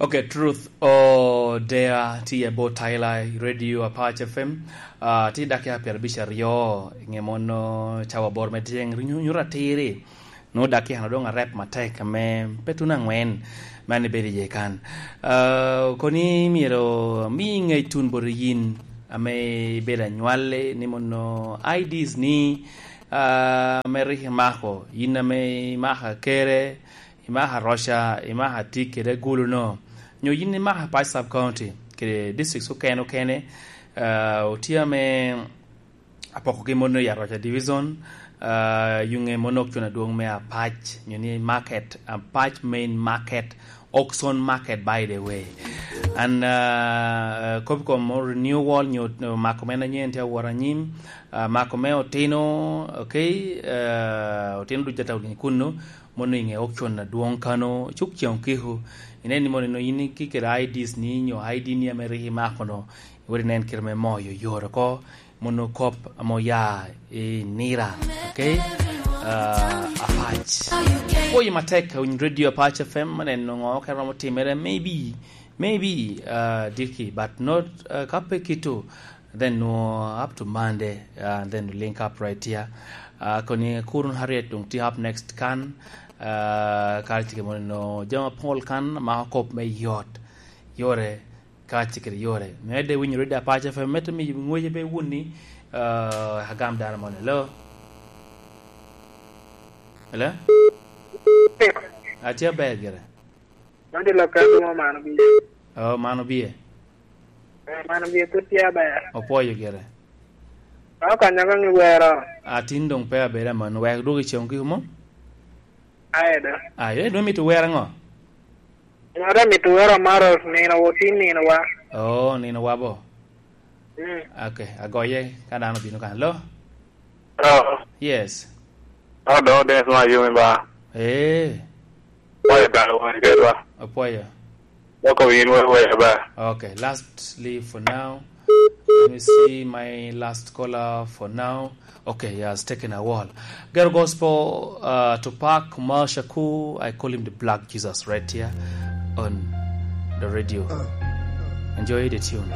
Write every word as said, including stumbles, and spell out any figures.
Ok, Truth Odea tye i Abo Tyler i Radio Apac F M. Ah, tye dakika pyerabic aryo, i nge mono cawa aboro me tyeng, nyu-, nyuto atiri. Nwoŋo dakika-nu doŋ arep matek, ame pe tuno angwen, man ibedo iye kan. Ah, koni myero ami ŋec tun bot yin, ame ibedo anywalli, ni mono I Ds ni, ah, ame rik imako, yin ame imako akere, imako aroca, imako atik kede agulu-no, nyo yin imako Apac Sub County kede districts okene okene, ah, otye ame apokogi mono i Aroca Division, ah, yuŋe mono ok con adwoŋ me Apac, nyo ni market, Apac main market, auction market, by the way. An, ah, kop kom mo renewal, nyo mako men anyen tye awot anyim, ah, mako me otino, okay, ah, otino duc ata olinyi kunnu, mono i ŋe auction adwoŋ kano, cuk ceŋ okiko. Inen ni mono ino yin ki kede I Ds ni, nyo I D ni ame rik imako no, iwot inen kite me moyo yore oko, mono kop ame oya i nira, okay? Ah, Apac. Pwoyo matek, winy Radio Apac F M, neno ŋo ka romo timere, maybe, maybe, ah, Dicky, but not, ah, ka pe kito, then nwo up to Monday, uh, then we link up right here. Uh, koni Kurun Harriet dong tye up next kan, uh, kare tye mono jama pol kan, ma kop me yot, yore, ka tye kede yore. Mede winyo Radio Apac F M, mete mi ngwece pe wuni, uh, agam dano mono. Hello? Hello? Atye aber gire. Mano dilo ka mo mano bie. Oh, mano bie. Eh, mano bie tut tye aber. Opwoyo gire. Okonyo ka ngi wero. Atin dong pe abedo aman, wek dwog i ceng kiko mo? Aye do. Aye, dong mito wero ngo? Mara mito wero maro nino wo tin nino wa. Oh, nino wa bo. Mm. Okay, agoye ka dano bino kan. Lo? Oh. Yes. Oh, do, Dennis ma yumi ba. Eh. Oya dano wani kedwa. Apoya. Loko win we we ba. Okay, lastly for now, let me see my last caller for now. Okay, he has taken a while. Ghetto Gospel, uh, Tupac Marshall Shakur, I call him the Black Jesus right here on the radio. Enjoy the tune.